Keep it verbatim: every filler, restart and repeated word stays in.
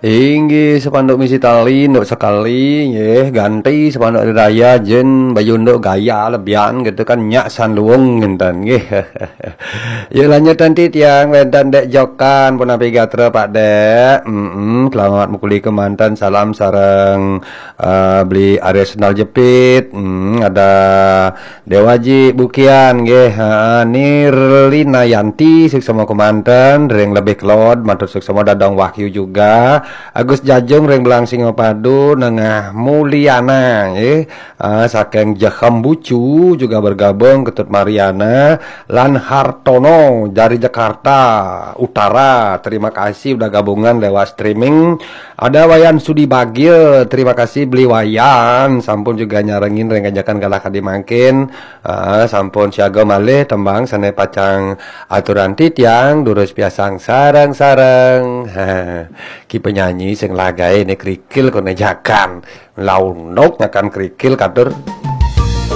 Inggih, sepanduk misi tali, nduk sekali, nggih, ganti sepanduk hari raya, jen baju nduk gaya lebihan gitu kan, nyak san luwung ngenten, nggih. Yuk lanjut nanti tiang, wenten Dek Jokan, punapi gatra Pak Dek. Mm-mm, selamat mukuli kemanten, salam sareng eh, beli Arya Sendal Jepit, mm, ada Dewaji Bukian, nggih, ha, Nirlina Yanti, suksma kemanten, ring lebih kelod, matur suksma Dadong Wahyu juga, Agus Jajung ring Belang Singapadu, Nengah Mulyana, nggih, ah, saking Jehem Bucu juga bergabung, Ketut Mariana, lan Hartono dari Jakarta Utara. Terima kasih udah gabungan lewat streaming. Ada Wayan Sudi Bagil, terima kasih beli Wayan, sampun juga nyarengin ring ajakan galah kadi mangkin. Ah, sampun siaga malih tembang sane pacang aturan titiang, durus piasang sareng-sareng. Ki penyanyi sing lagae ne kerikil kone jakan. Laundok nyakan kerikil katur.